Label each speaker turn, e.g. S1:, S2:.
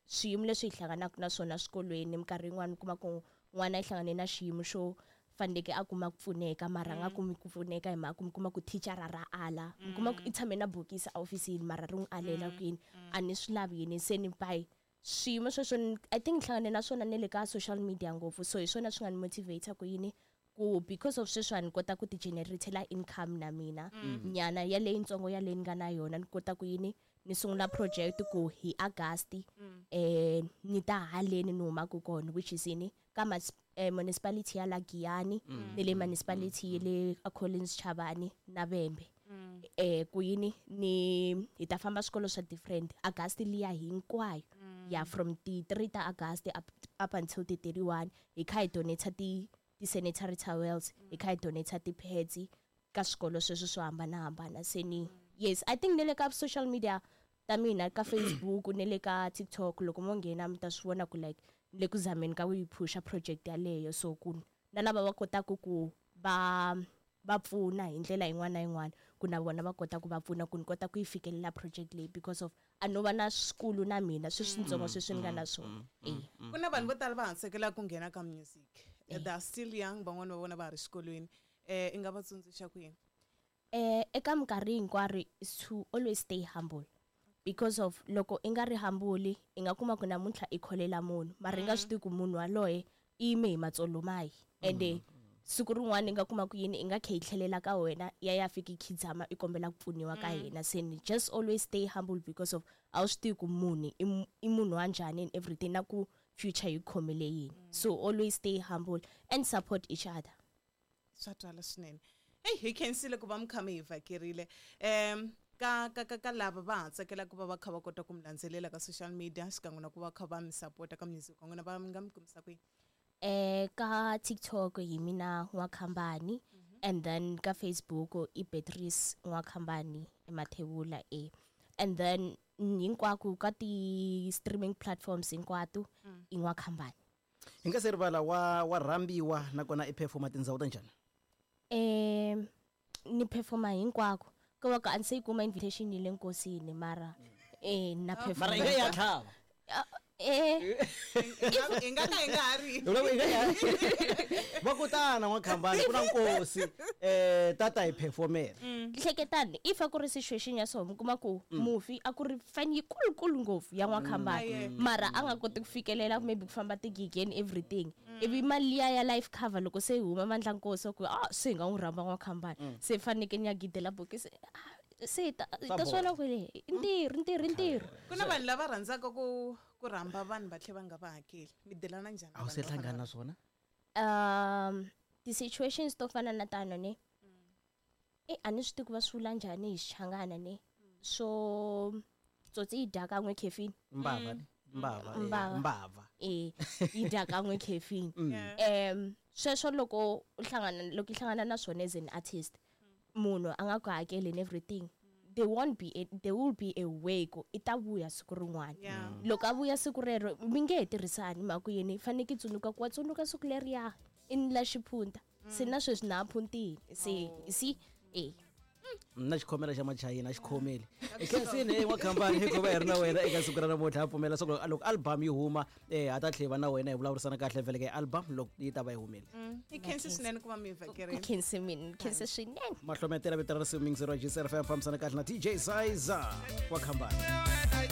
S1: Swiyimo leswi hi hlanganaka na swona swikolweni, minkarhi yin'wani u kuma ku n'wana i hlangane na xiyimo xo faneleke a kuma ku pfuneka, mara a nga kumi ku pfuneka hi mhaka ku mi kuma ku thicara ra ala. Mi kuma ku i tshame na bokisi ehofisini, mara ri n'wi alela ku yini, a ni swi lavi yini. Se ni by swiyimo sweswo, I think ni hlangane na swona ne le ka social media ngopfu, so hi swona swi nga ni motivate ku yini, ku because of sweswi ni kota ku ti generatela income na mina nyana ya leyintsongo ya leyi ni nga na yona, ni kota ku yini, ni sungula project ku hi August ni ta haleni ni humaka kona, which is yini, ka municipality ya la Giyani ni le municipality ya le a Collins Chabane na Vhembe, ku yini, ni hi ta famba swikolo swa different August liya hinkwayo ya from ti 3 ta August up until ti 31, hi kha hi donate ti sanitary towels, hi kha hi donate ti pads ka swikolo sweswo swo hambanahambana. Se ni, yes, I think ne le ka social media ta mina, ka Facebook ne le ka TikTok, loko mo nghena mi ta swi vona ku like ni le ku zameni ka ku yi phusha project yaleyo, so ku na lava va kotaka ku va pfuna hi ndlela yin'wana na yin'wana, ku na vona va kota ku va pfuna ku ni kota ku yi fikelela project leyi, because of a no va na swikulu na mina sweswitsongo sweswi ni nga na swona.
S2: Ku na vanhu vo tala va hansekela ku nghena ka music. They are still young, van'wani va vona va ha ri xikolweni. I nga va tsundzuxa ku yini?
S1: Eka minkarhi hinkwaro is to always stay humble, because of loko i nga ri humble, i nga kuma ku namuntlha i kholela munhu, mara i nga swi tivi ku munhu waloye i yime hi matsolo mahi, ende siku rin'wana i nga kuma ku yini, i nga kha yi tlhelela ka wena, ya fika i khidzama i kombela ku pfuniwa ka yena. Se ni just always stay humble, because of a wu swi tivi ku munhu i munhu wa njhani and everything, na ku future yi khomele yini. So always stay humble and support each other.
S2: Swa twala swinene. Heyi, hi khensile ku va mi kha mi hi vhakerile. Ka lava va ha tsakelaka ku va va kha va kota ku mi landzelela ka social media xikan'we na ku va kha va mi sapota ka music wa n'wina, va nga mi kumisa kwihi?
S1: Ka TikTok hi mina N'wakhambani, and then ka Facebook i Beatrice N'wakhambani eMathebula e, and then hinkwako ka ti streaming platforms hinkwato i N'wakhambani.
S3: Hi nga se rivala, wa rhambiwa nakona i performa tindhawu ta njhani?
S1: Ni performa hinkwako, ko va ka a ni se yi kuma invitation yi le nkosini, mara na performa.
S3: Mara i nga ya tlhava.
S2: Hi nga ka hi nga ha ri.
S3: Va ku tana N'wakhambani, ku na nkosi, tata hi performela.
S1: Hleketani, if a ku ri situation ya so, mi kuma ku mufi a ku ri fan yikulukulu ngopfu ya N'wakhambani, mara a nga koti ku fikelela maybe ku famba tigigi and everything, ivi mali liya ya life cover loko se yi huma mandla nkosi ku se hi nga n'wi rhamba N'wakhambani, se faneke ni ya gidela bokisi, se
S3: Swa
S1: ta swona
S3: boha.
S1: ku le i ntirho, ntirho, ntirho.
S2: Ku na vanhu lava rhandzaka ku rhamba vanhu va tlhela va nga va hakeli. Mi delana njhani na
S3: A wu
S2: vanhu
S3: se
S2: vo fana
S3: hlangana
S2: na
S3: na swona?
S1: Ti-situations to fana na tano ne, a ni swi tivi ku va swi vula njhani hi Xichangana ne, swo tsotsi yi dya kan'we khefini.
S3: Mbava ne? Mbava,
S1: Mbava.
S3: mbava.
S1: Yi dya kan'we khefini. Sweswo loko u hlangana, loko i hlangana na swona as an artist, munhu a nga ku hakeli and everything, there won't be a, there will be a way ku i ta vuya siku rin'wana. Loko a vuya siku rero, mi nge he tirhisani, mhaka ku yini, faneke i tsundzuka ku wa tsundzuka siku leriya i ni la xiphunta. Se na sweswi na ha phuntile. Se, you see?
S3: Na xikhomela xa machayina a xi khomeli. I khensini, N'wakhambani, hikuva hi ri na wena eka siku ra namuntlha. Ha pfumela swa ku loko album yi huma, ha ta tlhela va na wena hi vulavurisana kahle vhele ka album loko yi ta va yi humile.
S2: I khensi swinene ku va mi hi vhakerile.
S1: Khensi mina, khensi swinene.
S3: Mahlometela vito ra risimu mixer wa GCR FM, fambisana kahle na DJ Sizer N'wakhambani.